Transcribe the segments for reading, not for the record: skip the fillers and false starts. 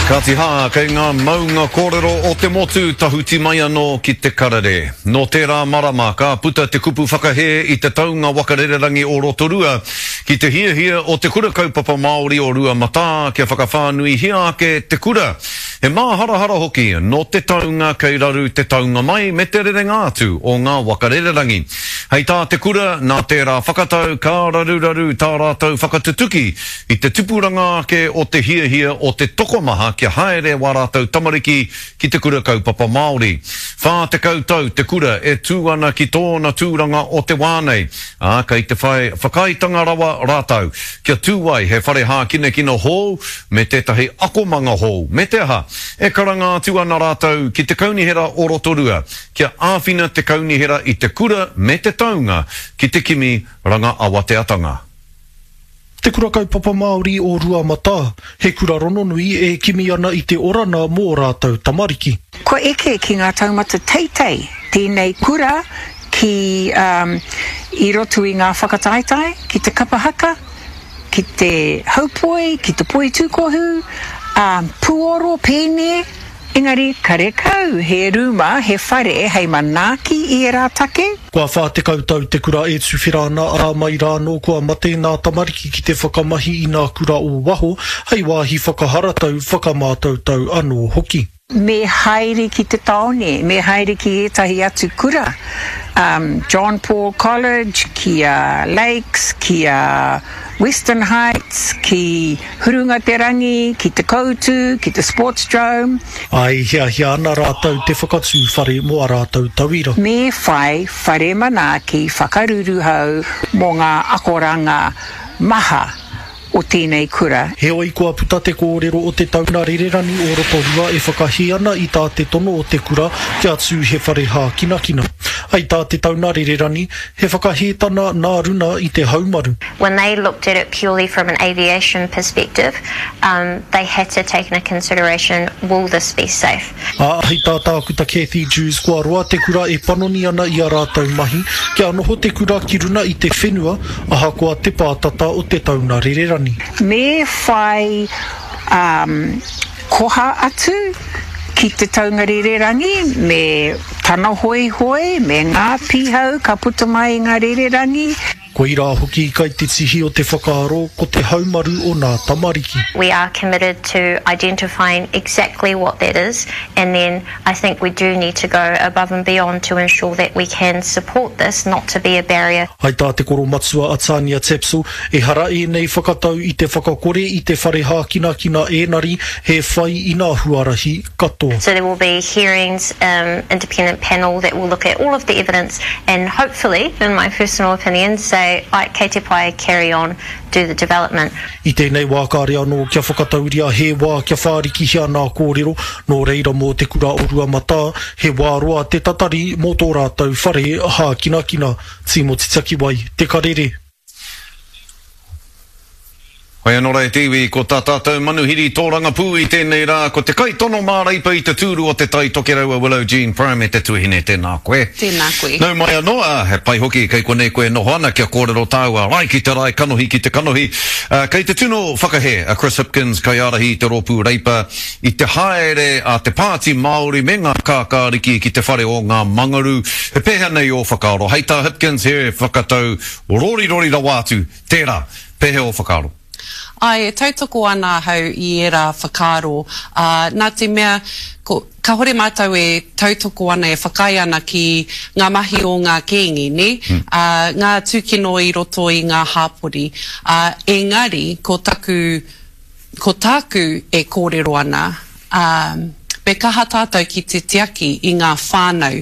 Kāti hā, kei ngā maunga kōrero o te motu tahuti mai anō ki te karere. Nō tērā marama ka puta te kupu whakahē i te taunga waka rererangi o Rotorua ki te hiahia o Te Kura Kaupapa Māori o Ruamatā kia whakawhānuihia ake te kura. He māharahara hoki nō te taunga kei raru te taunga mai me te rerenga atu o ngā waka rererangi. Hei tā te kura, nā tērā whakatau ka raruraru tā rātou whakatutuki i te tupuranga ake o te hiahia o te tokomaha kia haere wā rātou tamariki ki te kura kaupapa Māori. 40 tau te kura e tū ana ki tōna tūranga o te wā nei, ā, kei te whai whakaaetanga rawa rātou kia tū ai he whare hākinakina hou me tētahi akomanga hou, me te aha, e karanga atu ana rātou ki te Kaunihera o Rotorua kia āwhina te kaunihera i te kura me te taunga ki te kimi ranga awateatanga. Te Kura Kaupapa Māori o Ruamatā, he kura rononui e kimi ana i te orana mō rātou tamariki. Kua eke ki ngā taumata teitei tēnei kura ki i roto i ngā whakataetae, ki te kapa haka, ki te haupoi, ki te poitūkohu, ā, puoro, pēne, engari karekau he rūma, he whare hei manaaki i ērā take. Kua 40 tau te kura e tuwhera ana, ā, mai rā anō kua mate nā tamariki ki te whakamahi i nā kura o waho hei wāhi whakaharatau, whakamātautau anō hoki. Me haere ki te tāone, me haere ki ētahi atu kura, um, John Paul College, ki a Lakes, ki a Western Heights, ki Hurunga Te Rangi, ki Te Koutu, ki te Sportsdrome. Ā, e hiahia ana rātou te whakatū whare mō ā rātou tauira. Me whai whare manaaki whakaruruhau mō ngā akoranga maha o tēnei kura. Heoi, kua puta te kōrero o te tauna rererani o Rotorua e whakahē ana i tā te tono o te kura kia tū he whare hākinakina. Hei tā te tauna rererani, he whakahētana nā runa i te haumaru. When they looked at it purely from an aviation perspective, um, they had to take into consideration, will this be safe? Ā, hei tā Tākuta Cathy Dewes kua roa te kura e panoni ana i a rātou mahi kia noho te kura ki runa i te whenua ahakoa te pātata o te tauna rererani. Me whai um koha atu ki te taunga rererangi me tana hoihoi, me ngā pihau ka puta mai i ngā rererangi. Koirā hoki kai te tihi o te whakaaro ko te haumaru o nā tamariki. We are committed to identifying exactly what that is and then I think we do need to go above and beyond to ensure that we can support this not to be a barrier. Hai tā te koromatua a Tania Tapsell, ehara ēnei whakatau i te whakakore i te whare hākinakina ēnari he whai i nā huarahi katoa. So there will be hearings, um, independent panel that will look at all of the evidence and hopefully, in my personal opinion, say, ai, kei te pai, carry on, do the development. I tēnei wā kāre anō kia whakatauria he wā kia whārikihia nā kōrero, nō reira mō Te Kura o Ruamatā, he wā roa te tatari mō tō rātou whare hākinakina. Tīmoti Takiwai, Te Karere. Hoi anō rā e te iwi, ko tā tātou manuhiri tōrangapū i tēnei rā, ko te kaitono māreipa i te tūru o Te Tai Tokerau a Willow Jean Prime e te tuahine, tēnā koe. Tēnā koe. Nau mai anō, ā, he pai hoki kei konei koe e noho ana kia kōrero tāua rae ki te rae, kanohi ki te kanohi. Ā, kei te tino whakahē a Chris Hipkins, kaiārahi i te rōpū Reipa, i te haere a te Pāti Māori me ngā kākāriki ki te whare o ngā Mangaru. He pēhea nei ō whakaaro? Hei tā Hipkins, he whakatau rorirori rawa atu tērā. Pēhea ō whakaaro? Āe, e tautoko ana ahau i ērā whakaaro, ā, nā te mea, ko, kāhore mātou e tautoko ana, e whakaae ana ki ngā mahi o ngā kēngi, nē, ā, ngā tūkino i roto i ngā hāpori. Ā, engari, ko taku, Ko tāku e kōrero ana, ā, me kaha tātou ki te tiaki i ngā whānau,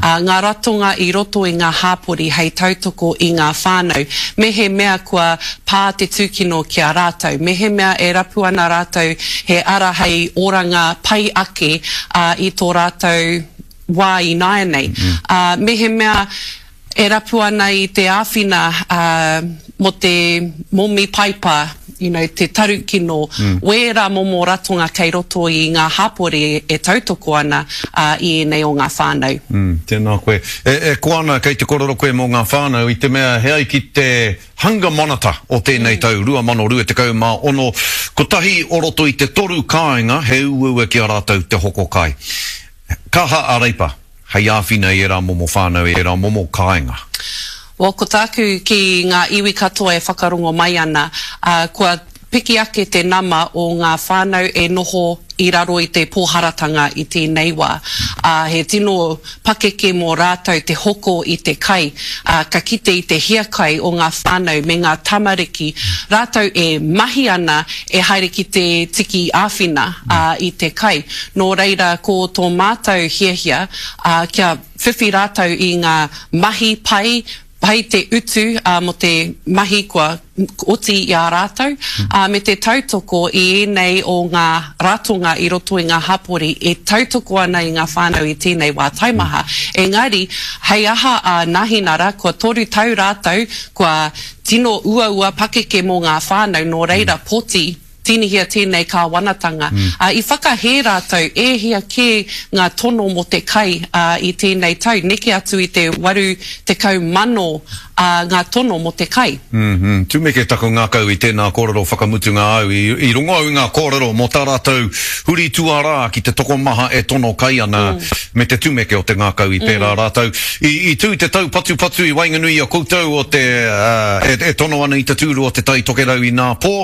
ā, ngā ratonga i roto i ngā hāpori hei tautoko i ngā whānau, mehemea kua pā te tūkino ki a rātou, mehemea e rapu ana rātou he ara hei oranga pai ake, ā, i tō rātou wā ināianei. Ā, mehemea e rapu ana i te āwhina, ā, mō te momi paipa. you know, te tarukino, wērā momo ratonga kei roto i ngā hapori e tautoko ana i ēnei o ngā whānau. Mm, tēnā koe. E, e koa ana kei te korero koe mō ngā whānau i te mea he ai ki te Hunger Monitor o tēnei tau 2026, kotahi o roto i te toru kāinga he uaua ki a rātou te hoko kai. Kaha a Reipa hei āwhina i ērā momo whānau, i ērā momo kāinga. Well, ko tāku ki ngā iwi katoa e whakarongo mai ana, ā, kua piki ake te nama o ngā whānau e noho i raro i te pōharatanga i tēnei wā, ā, he tino pakeke mō rātou te hoko i te kai, ā, ka kite i te hiakai o ngā whānau me ngā tamariki, rātou e mahi ana e haere ki te tiki āwhina, ā, i te kai. Nō reira, ko tō mātou hiahia, ā, kia whiwhi rātou i ngā mahi pai, pai te utu, ā, mō te mahi kua oti i a rātou, ā, me te tautoko i ēnei o ngā ratonga i roto i ngā hapori e tautoko ana i ngā whānau i tēnei wā taimaha. Engari, hei aha a Nahinara, kua toru tau rātou, kua tino uaua pakeke mō ngā whānau, nō reira poti Tīnihia tēnei kāwanatanga. Ā, i whakahē rātou e hia kē ngā tono mō te kai, ā, i tēnei tau, neke atu i te 80,000, ā, ngā tono mō te kai. Mm-hmm. Tumeke taku ngākau i tēnā kōrero whakamutunga au. I, i rongo au i ngā kōrero mō tā rātou huri tuarā ki te tokomaha e tono kai ana me te tumeke o te ngākau i pērā rātou. I, i tū te taupatupatu i waenganui i a koutou o te, ā, e, e tono ana i te tūru o Te Tai Tokerau inā pō.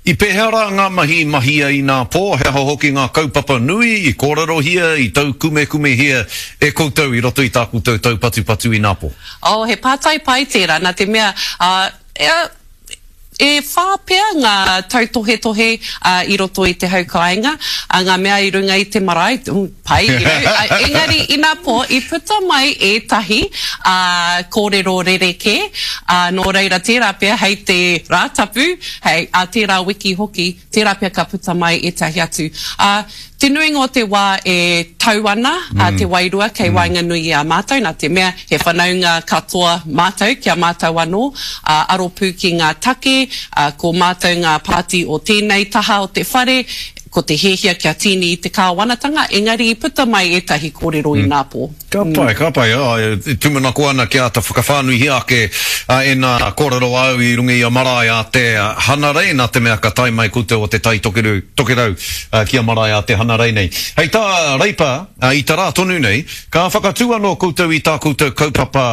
I pēhea rā ngā mahi i mahia inā pō, he aha hoki ngā kaupapa nui i kōrerohia, i taukumekumehia e koutou i roto i tā koutou taupatupatu inā pō? Oh, he pātai pai tērā, nā te mea, ā, ea, e whā pea ngā tautohetohe, ā, i roto i te hau kāinga, ā, ngā mea i runga i te marae, pai, you know, ā, engari inā pō i puta mai ētahi, ā, kōrero rerekē, ā, nō reira tērā pea hei te Rātapu, hei, ā tērā wiki hoki, tērā pea ka puta mai ētahi atu. Ā, te nuinga o te wā e tau ana a te wairua kei waenganui i a mātou, nā te mea he whanaunga katoa mātou ki a mātou anō, ā, aro pū ki ngā take, ā, ko mātou ngā pāti o tēnei taha o te whare, ko te hiahia kia tīni i te kāwanatanga, engari i puta mai ētahi kōrero inā pō. Ka pai, ka pai. E tūmanako ana kia āta whakawhānuihia ake ēnā kōrero āu i runga i a Marae a te Hanarei, nā te mea ka tae mai koutou o Te Tai Tokerau ki a Marae a te Hanarei nei. Hei tā Reipa, i te rā tonu nei, ka whakatū anō koutou i tā koutou kaupapa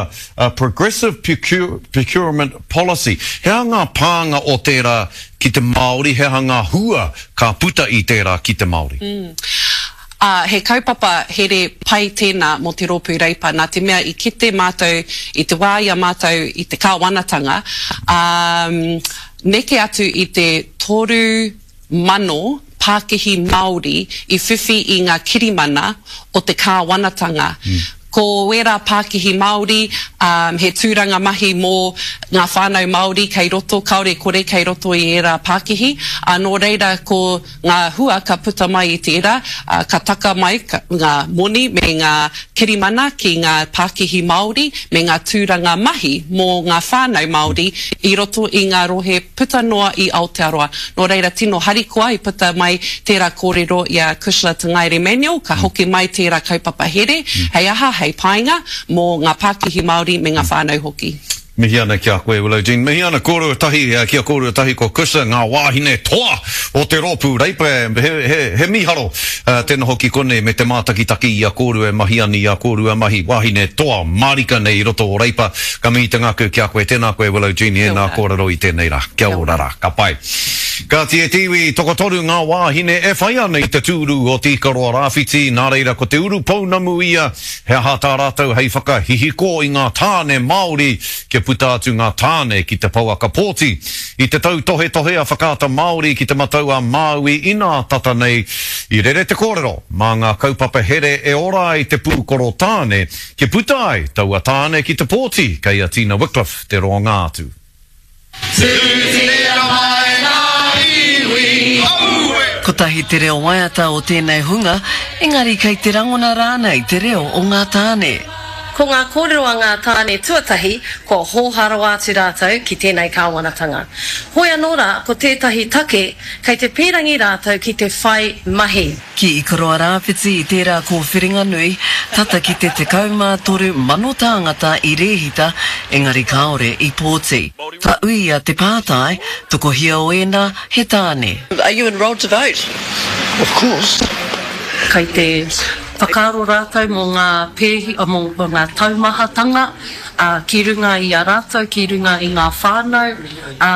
Progressive Procurement Policy. He aha ngā pānga o tērā ki te Māori, he aha ngā hua ka puta i tērā ki te Māori? Ā, he kaupapa here pai tēnā mō te Rōpū Reipa, nā te mea i kite mātou i te wā i a mātou i te kāwanatanga, ā, neke atu i te 3,000 pākihi Māori i whiwhi i ngā kirimana o te kāwanatanga. Ko ērā pākihi Māori, ā, he tūranga mahi mō ngā whānau Māori kei roto, kāore kore kei roto i ērā pākihi, ā, nō reira ko ngā hua ka puta mai i tērā, ā, ka taka mai ngā moni me ngā kirimana ki ngā pākihi Māori me ngā tūranga mahi mō ngā whānau Māori i roto i ngā rohe puta noa i Aotearoa. Nō reira tino harikoa i puta mai tērā kōrero i a Cushla Te Ngaere Manuel, ka hoki mai tērā kaupapa here, hei aha, hei painga mō ngā pākihi Māori me ngā whānau hoki. Mihi ana ki a koe Willow Jean. Mihi ana kōrua tahi ki a kōrua tahi ko Cushla, ngā wāhine toa o te rōpū Reipa. He, he, he mīharo te noho ki konei me te mātakitaki i a kōrua e mahi ana i a kōrua mahi wāhine toa mārika nei i roto o Reipa. Ka mihi te ngākau ki a koe. Tēnā koe Willow Jean i ēnā kōrero i tēnei rā. Kia ora rā. Ka pai. Kāti e te iwi, tokotoru ngā wāhine e whai ana i te tūru o Te Ikaroa Rāwhiti, nā reira ko te urupounamu ia, he aha tā rātou hei whakahihiko i ngā tāne Māori kia puta atu ngā tāne ki te pouaka pōti. I te tautohetohe a Whakaata Māori ki Te Matau a Māui inā tata nei, i rere te kōrero mā ngā kaupapa here e ora ai te pūkoro tāne kia puta ai taua tāne ki te pōti kei a Tina Wickliffe te roanga atu. Tūtira mai ngā iwi, aue! Kotahi te reo waiata o tēnei hunga, engari kei te rangona rānei te reo o ngā tāne? Ko ngā kōrero a ngā tāne tuatahi, kua hōhā rawa atu rātou ki tēnei kāwanatanga. Hoi anō rā, ko tētahi take, kei te pīrangi rātou ki te whai mahi. Ki Ikaroa-Rāwhiti i tērā kōwhiringa nui, tata ki te 13,000 tāngata i rēhita, engari kāore i pōti. Ka uia te pātai, tokohia o ēnā he tāne? Are you enrolled to vote? Of course. Kei te whakaaro rātou mō ngā pēhi, mō ngā taumahatanga ki runga i a rātou, ki runga i ngā whānau, ā,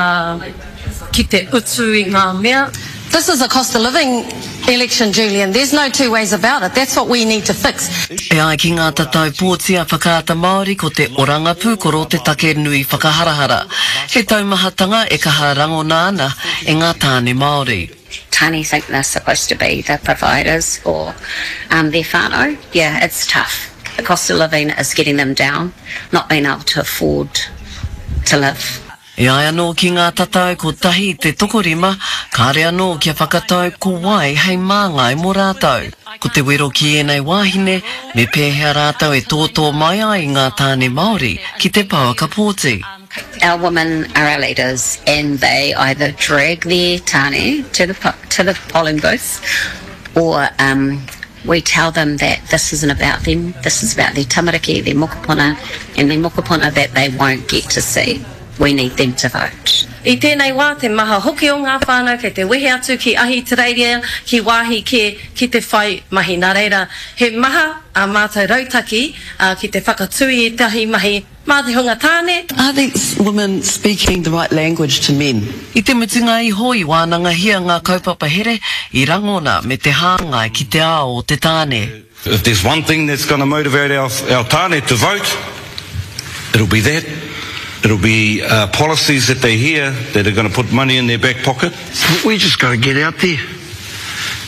ki te utu i ngā mea. This is a cost of living election, Julian, there's no two ways about it, that's what we need to fix. E ai ki ngā tatau pōti a Whakaata Māori ko te oranga pūkoro te take nui whakaharahara. He taumahatanga e kaha rangona ana e ngā tāne Māori. Tane think they're supposed to be the providers for their whānau, yeah it's tough, the cost of living is getting them down, not being able to afford to live. E ai anō ki ngā tatau kotahi te tokorima, kāre anō kia whakatau ko wai hei māngai mō rātou. Ko te wero ki ēnei wāhine, me pēhea rātou e tōtō mai ai i ngā tāne Māori ki te pouaka pōti. Our women are our leaders and they either drag their tāne to the to the polling booth or um we tell them that this isn't about them, this is about their tamariki, their mokopuna and their mokopuna that they won't get to see. We need them to vote. I tēnei wā te maha hoki o ngā whānau kei te wehe atu ki Ahitereiria, ki wāhi kē ki te whai mahi. Nā reira, he maha ā mātou rautaki ki te whakatū i ētahi mahi mā te hunga tāne. Are these women speaking the right language to men? I te mutunga iho i wānangahia ngā kaupapa here i rangona me te hāngai ki te ao o te tāne. If there's one thing that's gonna motivate our our tāne to vote, it'll be that. It'll be policies that they hear that are gonna put money in their back pocket. We just gotta get out there.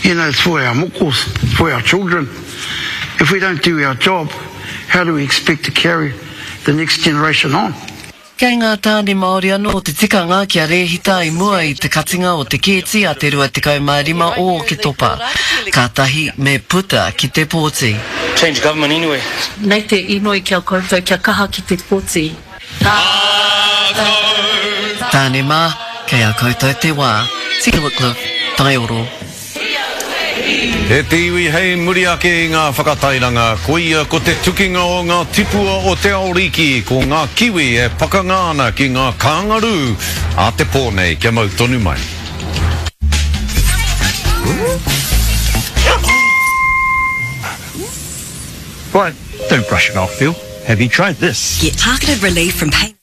You know, it's for our mokos, it's for our children. If we don't do our job, how do we expect to carry the next generation on? Kei ngā tāne Māori anō te tikanga kia rēhita i mua i te katinga o te kēti a te 25 o Oketopa. Kātahi me puta ki te pōti. Change government anyway. Nei te inoi ki a koutou kia kaha ki te poti. Tāne mā, kei a koutou te wā. Tina Wickliffe, Taioro. E te iwi hei muri ake i ngā whakatairanga, koia ko te tukinga o ngā tipua o te ao riki, ko ngā kiwi e pakanga ana ki ngā kāngarū a te pō nei, kia mau tonu mai. But don't brush it off, Phil. Have you tried this? Get targeted relief from pain.